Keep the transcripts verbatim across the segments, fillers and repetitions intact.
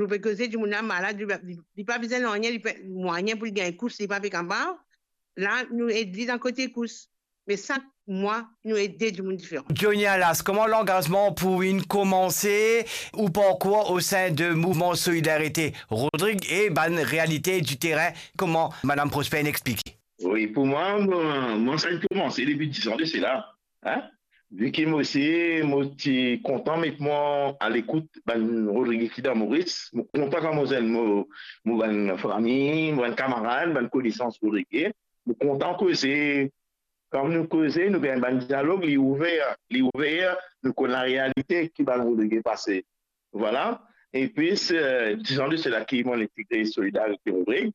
nou pe koze, dimoun la malad, li pa, li, li pa bizin nanye, li pe, mwayin pou li gagn kous, li pa pe kapav. La, nou ed li dan kote kous. Me sak mwa, nou ede dimoun diferan. Johnny Alas, kouma langazman pou inn koumanse ou parkour o sein de Mouvman Solidarite Rodrig e bann realite di terin, kouma Madam Prosper inn explike? Wi, pou mwa, mwa, mwa, sa inn koumanse depi dis an de sela, hein? Vi ki mo osi, mo ti kontan met mwa alekout bann Rodrige ki dan Moris. Mo kontan kan mo zwenn mo, mo bann fami, mo bann kamarad, bann konesans Rodrige. Mo kontan koze. Kan nou koze, nou gagn bann dialog, li ouver, li ouver, nou konn larealite ki bann Rodrige pase. Vwala. Epi, se, dis an de sela ki mo'nn integre Solidarite Rodrig.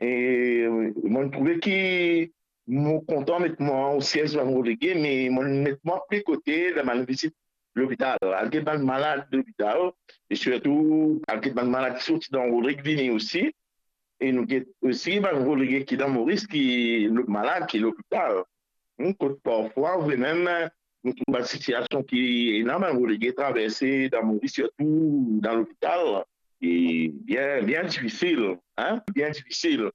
E, euh, mo'nn trouve ki mo kontan met mwa o siez bann Rodrige, me mo'nn met mwa pli kote dan bann vizit lopital, al get bann malad lopital, e sirtou al get bann malad ki sorti dan Rodrig vini osi. E nou get osi bann Rodrige ki dan Moris ki lo-, malad, ki lopital. Hmm, kot parfwa, vremem, nou trouv bann sitiasion ki ena bann Rodrige traverse dan Moris, sirtou dan lopital. E bien, bien difisil, hein, bien difisil.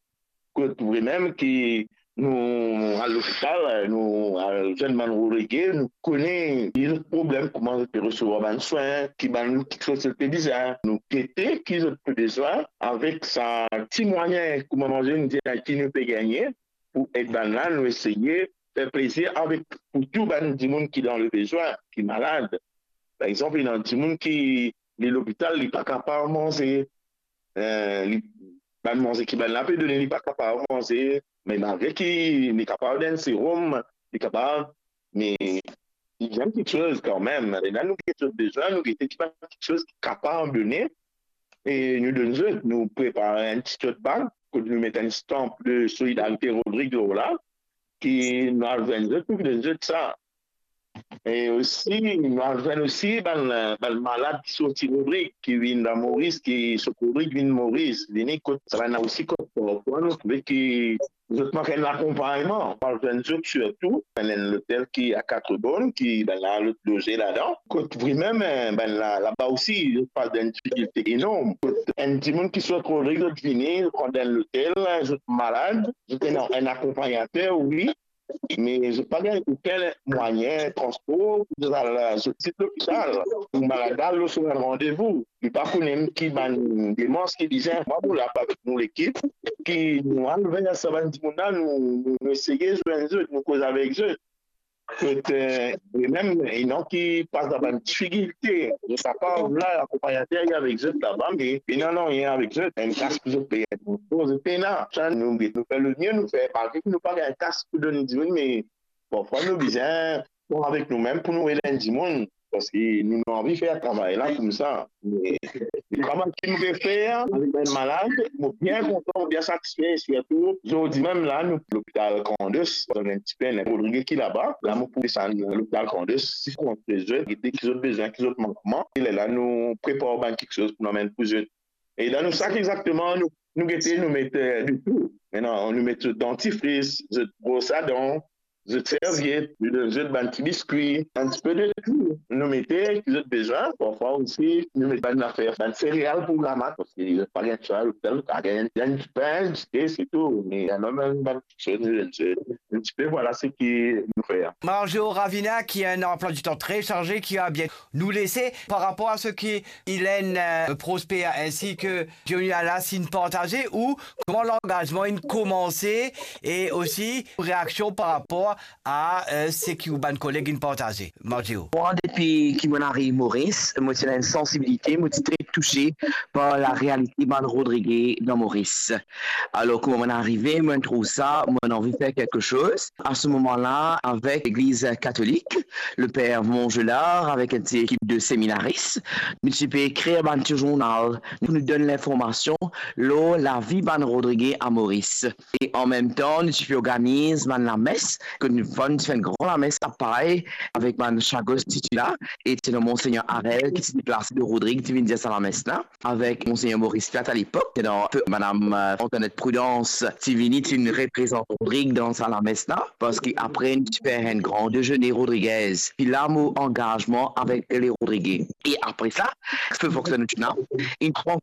Kot vremem ki nou al lopital, nou al zwenn bann Rodrige, nou kone ki zot problem, kouma zot pe resevwar bann swin, ki bann kiksoz zot pe bizin. Nou gete ki zot pe bizin, avek sa ti mwayin, kouma manze nou dir, ki nou pe gagne, pou ed bann la, nou eseye fer plezir avek, pou tou bann dimoun ki dan lebezwin, ki malad. Par exanp, ena dimoun ki, li lopital, li pa kapav manze. Eh, li, bann manze ki bann la pe done, li pa kapav manze. Me malgre ki li kapav donn serom, li kapav, me li bizin kiksoz kanmem. E la, nou gete zot bezwin, nou gete ki bann kiksoz ki kapav done. E nou donn zot, nou prepar enn ti tote bag, kot nou met enn stanp de Solidarite Rodrig lor la, ki nou al zwenn zot pou donn zot sa. E osi, nou al zwenn osi bann, bann malad ki sorti Rodrig, ki vinn dan Moris, ki sorti Rodrig vinn Moris, vini kot, sa bann la osi kot, parfwa nou trouve ki zot mank enn lakonpagnman. Nou al zwenn zot sirtou dan enn lotel ki a Katrebonn, ki bann la lot loze ladan. Kot vremem, eh, bann la, laba osi, zot pas dan enn difikilte enorm. Kot enn dimoun ki sorti Rodrig, zot vini, zot pran dan enn lotel, zot malad, zot ena enn akonpagnater, wi, me zot pa gagn okenn mwayin transpor pou zot al, zot vizit lopital, pou malad la al lor so bann randevou. Li pa kone ki bann demars ki bizin. Mwa, mo la avek nou lekip, ki nou al ver sa bann dimoun la, nou, nou, nou eseye zwenn zot, nou koz avek zot. Kot, eh, e mem, ena ki pas dan bann difikilte. Zot kapav la, akonpagnater li avek zot laba, me li nanye avek zot. Enn kas pou zot peye, zot pena. Sa, nou, nou fer lemie, nou fer, malgre ki nou pa gagn kas pou donn dimoun, me parfwa nou bizin pran avek noumem pou nou ed enn dimoun, parski nou, nou anvi fer travay la koumsa. Me, me travay ki nou pe fer avek bann malad, mo bien kontan, mo bien satisfe, sirtou zordi mem la, nou lopital Grand'Anse, donn enn tipe, ena Rodrige ki laba, la mo pou desann lopital Grand'Anse, si kont zot, gete ki zot bizin, ki zot mankman, e lerla nou prepar bann kiksoz pou nou amenn pou zot. E dan nou sak, exakteman, nou, nou gete, nou met, eh, de tou. Mintnan, nou met zot dantifris, zot bros a dan, zot serviet, nou donn zot bann ti biskwi, enn tipe de tou. Nou mete ki zot bizin, parfwa osi, nou met bann zafer, bann sereal pou ramas, parski zot pa gagn sa, lopital, pa gagn, gagn dipin, dite, se tou. Me ena mem bann kiksoz, nou donn zot. Enn tipe, vwala seki nou fer. Margeo Ravina, ki a enn anplwa di tan tre sarze, ki a bien nou lese par rapor a seki Hélène, euh, Prosper ainsi que Johnny Alas inn partaze, ou kouma langazman inn koumanse, e osi reaksion par rapor a, euh, seki ou bann koleg inn partaze. Margeo. Mwa, depi ki mo'nn ariv Moris, mo ti ena enn sansibilite, mo ti tre touse par larealite bann Rodrige dan Moris. Alor, kouma mo'nn arive, mo'nn trouv sa, mo'nn anvi fer kiksoz. A se moman la, avek Legliz Katolik, le per Mongelard, avek enn ti ekip de seminaris, nou ti pe ekrir bann ti zournal pou nou donn linformasion lor lavi bann Rodrige a Moris. E anmemtan, nou ti pe organiz bann lames, kot nou, nou ti fer enn gran lames a Pay, avek bann Chagos ti la, e ti ena Monsegner Harel ki ti deplase de Rodrig, ti vinn dir sa lames la, avek Monsegner Maurice Platte a lepok, ti ena Madam, euh, Antoinette Prudence, ti vini, ti vinn reprezant Rodrig dan sa lames la, parski apre nou ti fer enn gran dezene rodrigez, ki la mo angazman avek le Rodrige. E apre sa, feu fonksionn ena, inn pran